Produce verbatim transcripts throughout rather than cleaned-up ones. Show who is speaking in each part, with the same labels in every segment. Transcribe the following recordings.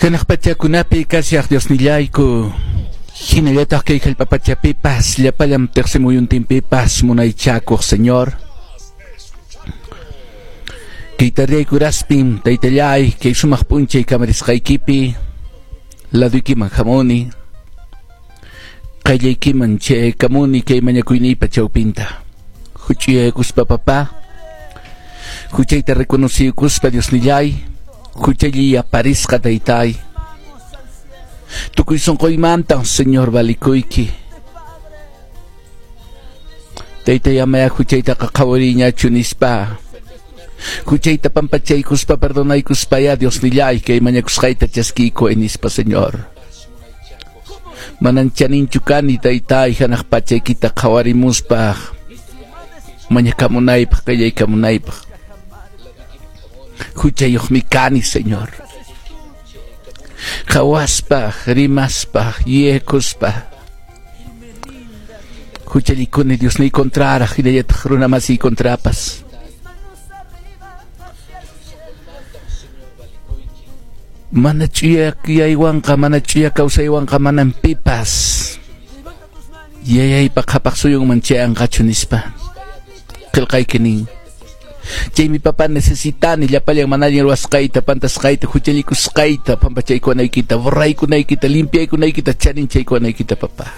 Speaker 1: Hanaq pachakunapi kashaq Diosnillayku, hinallataq kay hallp'apachapipas llapallam tiqsimuyuntinpipas munaychakuq Señor. Kay tardeyayku taytallay kay sumaq p'unchay kamarisqaykipi laduykiman hamuni, qayllaykiman chaykamuni kay mañakuyniypa chawpinta. Huch'uyaykuspa papá, huchayta reconociykuspa Diosnillay, huchalliy aparisqa taytay. Tukuy sunquymantan Señor valikuyki. Taytay amaya huchaytaqa qhawariyñachu nispa. Huchayta pampachaykuspa perdonaykuspaya Diosnillay kay mañakusqayta chaskiyku nispa Señor. Manan chaninchu kani taytay hanaq pachaykita qhawarimuspaq mañakamunaypaq qallaykamunaypaq. Huchayuqmi kani Señor. Qhawaspa, rimaspa, yuyaykuspa. Huchallikuni Diosniy kontraraq hinallataq runa masiy kontrapas. Mana ch'uya yuyaywanqa, mana ch'uya kawsaywanqa manan pipas yayaypa qhapaq suyunman chayanqachu nispa. Qillqayki nin. Chaymi papá necesitani llapallan mana allin ruwasqayta, pantasqayta, huchallikusqayta, pampachaykunaykita, borraykunaykita, limpiaykunaykita, chaninchaykunaykita papá.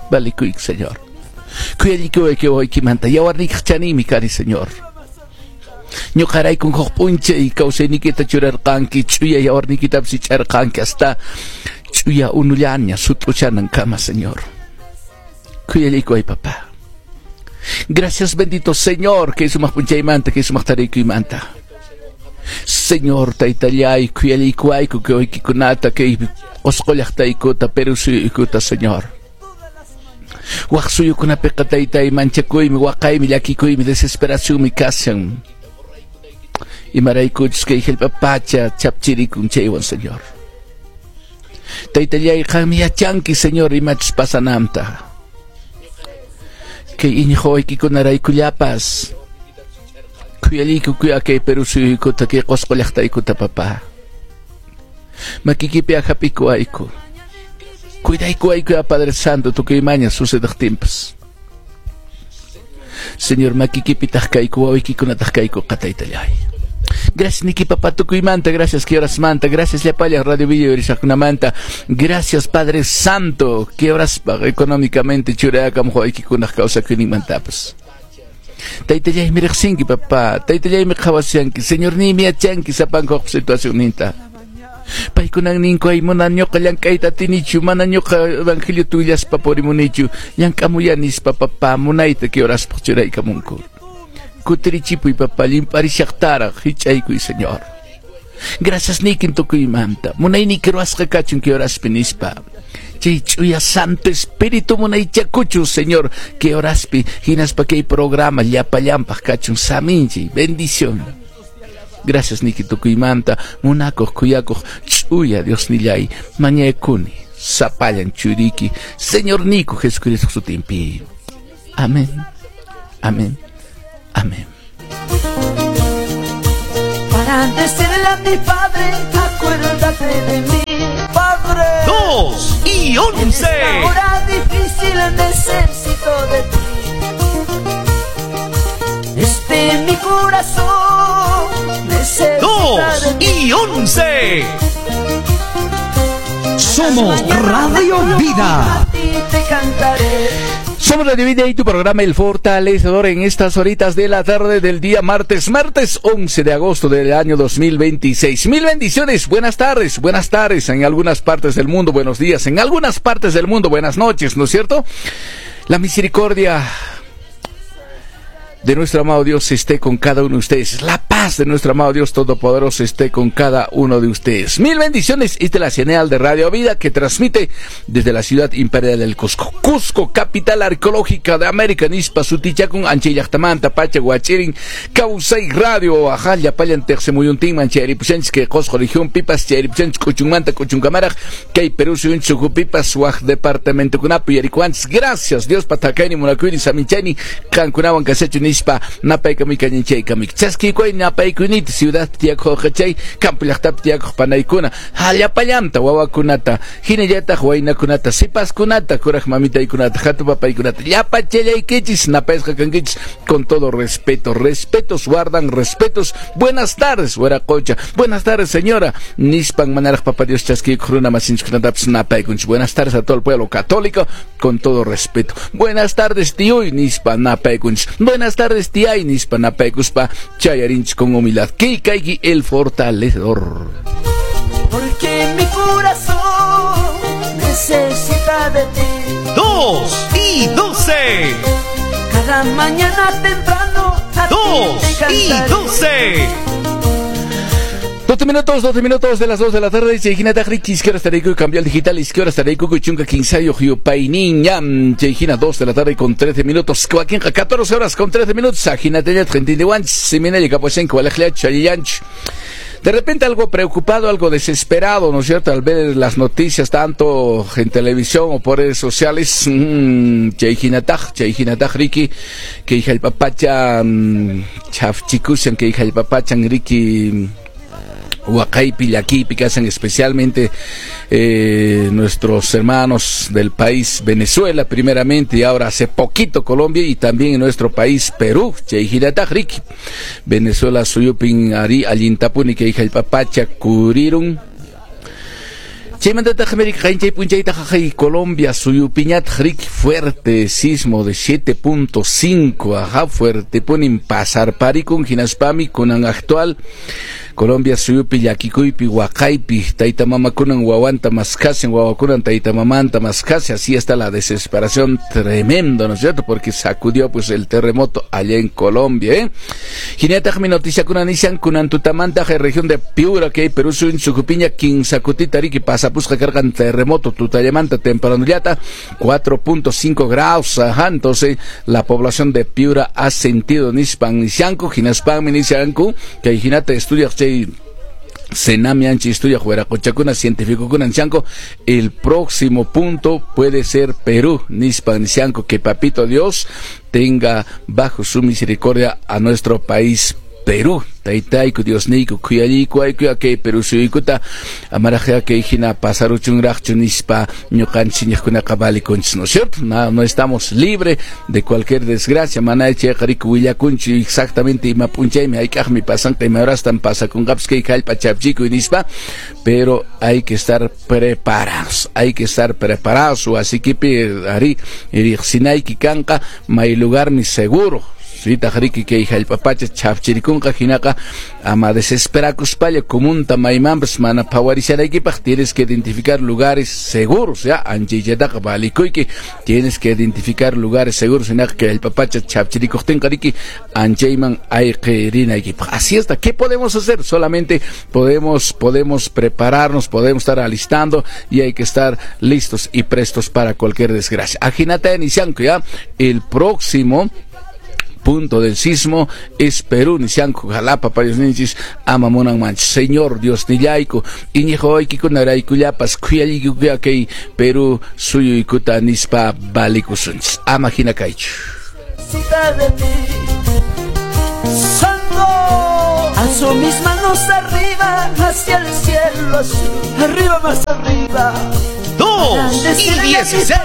Speaker 1: Valikuyki Señor. Khuyallikuwayki wawaykimanta, yawarniykiq chaninmi kani Señor. Ñuqaraykun huk p'unchay kawsayniykita churarqanki, ch'uya yawarniykitapas ich'arqanki hasta ch'uya unullaña sut'uchanankama Señor. Khuyallikuway papá. Gracias bendito Señor, kay sumaq p'unchaymanta, kay sumaq tarikuymanta. Señor taytallay, khuyallikuwayku kay waykikunata, kay Qusqu llaqtaykuta, Perú suyuykuta Señor. Waq suyukunapiqa taytay manchakuymi, waqaymi, llakikuymi, desesperacionmi kashan. Imaraykuchus kay hallp'apacha chapchirikun chaywan Señor. Taytallay qanmi yachanki Señor imachus pasananta. Kay iñiq wawaykikunaraykullapas khuyallayku kuya kay Perú suyuykuta, kay Qusqu llaqtaykuta papá. Makiykipi hap'ikuwayku. Cuidaykuwayku ya Padre Santo tukuy imaña sucedaqtinpas. Señor makiykipitaq kayku wawaykikunataq kayku taytallay. Gracias niki papá tukuymanta, gracias que horas manta, gracias llapallan Radio Video Manta, gracias Padre Santo, que horas económicamente churayakamuq wawaykikunaq kawsakuyninmantapas. Taytallaymi riqsinki papá, taytallaymi qhawashanki, Señor niymi yachanki sapankuq situacionninta. Paykunan ninku ay mana ñuqa llank'ayta atinichu, mana ñuqa evangelio willaspa purimunichu, llank'amuya nispa papá, munayta que horaspaq churaykamunku. Kutirichipuy papá, limparishaqtaraq hich'aykuy Señor. Gracias nikin tukuymanta, munayniyki ruwasqa kachun que horaspi nispa. Chay ch'uya Santo Espíritu munaychakuchun Señor, que horaspi hinaspa kay programa llapallanpaq kachun saminchi, bendición. Gracias niki tukuymanta, munakuq khuyakuq ch'uya Diosnillay, mañakuni sapallan churiki, Señor Nico Jesucristo sutinpi. Amén. Amén. Amén.
Speaker 2: Para decirle a mi padre, acuérdate de mí, padre.
Speaker 3: Dos y once.
Speaker 2: En esta hora difícil necesito de ti. Este mi corazón necesita
Speaker 3: Dos
Speaker 2: de ti.
Speaker 3: y once.
Speaker 4: Somos Radio Vida.
Speaker 2: A ti te cantaré.
Speaker 1: Somos Radio Vida y tu programa El Fortalecedor en estas horitas de la tarde del día martes, martes once de agosto del año dos mil veintiséis. Mil bendiciones, buenas tardes, buenas tardes en algunas partes del mundo, buenos días, en algunas partes del mundo, buenas noches, ¿no es cierto? La misericordia de nuestro amado Dios esté con cada uno de ustedes. La paz de nuestro amado Dios Todopoderoso esté con cada uno de ustedes. Mil bendiciones. Esta es la señal de Radio Vida que transmite desde la ciudad imperial del Cusco. Cusco, capital arqueológica de América. Nispa, sutichakun, anchayllaqtamanta, pacha, huachirin, Kawsay Radio, ajá, llapallan tiqsimuyuntinman, chayripushanchis kay Qosqo región pipas, chayripushanchis k'uchunmanta, k'uchunkamaraq, kay Perú suyunchis ukhupipas, waq departamentokunapi yarikuanchis. Gracias, Dios patakayni, munakuyni, saminchayni, qankunawan kashachu. nispa napaykamuykañinchaykamik chaskikuy napaykuynita ciudad tiyakuq chay campo llaqtapi tiyakuq panaykuna llapallanta wawakunata hinallataq waynakunata sipaskunata kuraq mamitaykunata hatun papaykunata llapachallaykichis napayasqa kankichis con todo respeto, respetos guardan respetos. Buenas tardes hueracocha, buenas tardes señora nispan manaraq papá Dios chaskikuq runa masinchikkunatapas napaykunchis. Buenas tardes a todo el pueblo católico con todo respeto. Buenas tardes tío nispa napaykunchis. Buenas tardes tía nispa napaykuspa chayarinchis con humildad. Que caiga el fortalecedor.
Speaker 2: Porque mi corazón necesita de ti.
Speaker 3: Dos y doce.
Speaker 2: Cada mañana temprano. A
Speaker 3: dos y doce.
Speaker 1: doce minutos, doce minutos de las dos de la tarde. Chayhina taqriki, izquierda estaré cambio al digital, izquierda estaré chunka quinsayo yupayniñam. Chayhina dos de la tarde con trece minutos. Kuakinqa catorce horas con trece minutos. Ajinatella treinta y Siminella Caposenko, Alejlia Chayanch. De repente algo preocupado, algo desesperado, ¿no es cierto? Al ver las noticias tanto en televisión o por redes sociales, mmm, chayhinataj, chayhinataj riki, kay hallp'apacha, chhafchikushan, kay hallp'apachan riki, waqaypi, llakiypi kashan especialmente eh, nuestros hermanos del país Venezuela primeramente y ahora hace poquito Colombia y también en nuestro país Perú. Chayhinataj riki Venezuela suyupin ari allintapuni kay hallp'apacha kurirun. Chaymantataq América chay punchaytaq Colombia suyupiñataq riki fuerte sismo de siete punto cinco, ajá, fuerte punin pasarparikun hinaspami kunan actual Colombia suyupi llakikuypi waqaypi tayta mamakunan wawanta maskasin, wawakunan tayta mamanta maskasi. Así está la desesperación tremendo, ¿no es cierto? Porque sacudió pues el terremoto allá en Colombia, ¿eh? Hinataqmi noticiakuna nishan kunan tutamanta región de Piura que Perú suyun sukupiña kinsakutita riki pasapusqa karqan terremoto tutallamanta tempranullata cuatro punto cinco grados, ajá, entonces la población de Piura ha sentido nispan nishanku hinaspanmi nishanku kay hinata estudia chay Senami anchi estudia huiracochakuna científico nishanku el próximo punto puede ser Perú nispan nishanku. Que papito Dios tenga bajo su misericordia a nuestro país Perú. Taytayku Diosniyku khuyalliku kay Perú suyuykuta amaraqya kay hina pasaruchunraqchu nispa ñuqanchik iñiqkunaqa valikunchis, ¿no es cierto? No, no estamos libres de cualquier desgracia, mana chayqa riki willakunchu exactamente ima p'unchaymi hayk'aqmi pasanqa ima horastan pasakunqapas kay hallp'a chhafchikuy nispa, pero hay que estar preparados, hay que estar preparados. Wasiykipi ari riqsinayki kanqa may lugarmi seguro. Sitaq riki kay hallp'apacha chhafchirikunqa hinaqa ama desesperakuspalla comunta maymanpas mana phawarishanaykipaq tienes que identificar lugares seguros, ya anchayllataqa valikuyki, tienes que identificar lugares seguros hinaqa kay hallp'apacha chhafchirikuqtinqa riki anchayman ayqirinaykipaq. Así está. ¿Qué podemos hacer? Solamente podemos podemos prepararnos, podemos estar alistando y hay que estar listos y prestos para cualquier desgracia. Ajinata nishanku ya el próximo punto del sismo es Perú, nishanku ojalá papá Diosninchis ama munanmanchu. Señor Diosnillayku, iñiq wawaykikunaraykullapas khuyallaykuya kay Perú suyuykuta nispa valikusunchis. Ama hina kaychu.
Speaker 2: De ti. Santo, alzo mis manos arriba hacia el cielo azul, arriba, más arriba.
Speaker 3: dos y dieciséis.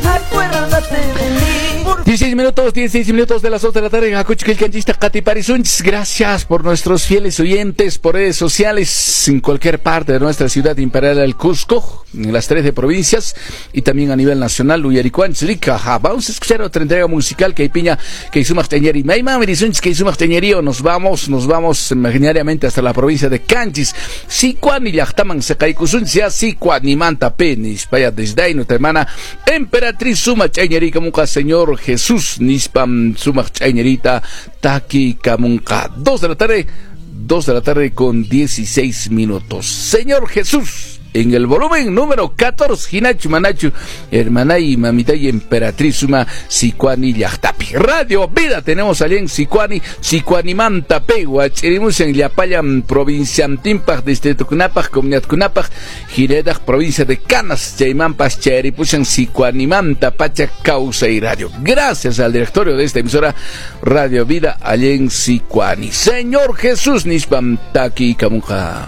Speaker 2: Acuérdate de mí.
Speaker 1: dieciséis minutos, dieciséis minutos de las dos de la tarde en Hakuchu qillqanchista qatiparisunchis. Gracias por nuestros fieles oyentes por redes sociales en cualquier parte de nuestra ciudad imperial del Cusco, en las trece provincias y también a nivel nacional. Uyaricuanchis, Rica. Vamos a escuchar otra entrega musical que piña que sumaq teñeri. Maymanmi risunchis kay sumaq teñerío. Nos vamos, nos vamos imaginariamente hasta la provincia de Canchis. Sicuani llaqtaman seqaykusunchis ya Sicuanimanta penis. Vaya desde ahí nuestra hermana Emperatriz sumaq ch'añerikamunqa Señor Jesús nispam sumaq ch'añerita takikamunqa. Dos de la tarde, dos de la tarde con dieciséis minutos. Señor Jesús. En el volumen número catorce, hinachu manachu, hermanay, mamitay, emperatriz suma Sicuani llaqtapi. Radio Vida tenemos allá en Sicuani, Sicuanimanta pegua, chirimus en llapallan provinciantinpaq, distritokunapaq, comunidadkunapaq, hinallataq provincia de Canas, chaymanpas chayripushan Sicuanimanta pacha Kawsay Radio. Gracias al directorio de esta emisora Radio Vida allá en Sicuani. Señor Jesús nispam takikamunqa.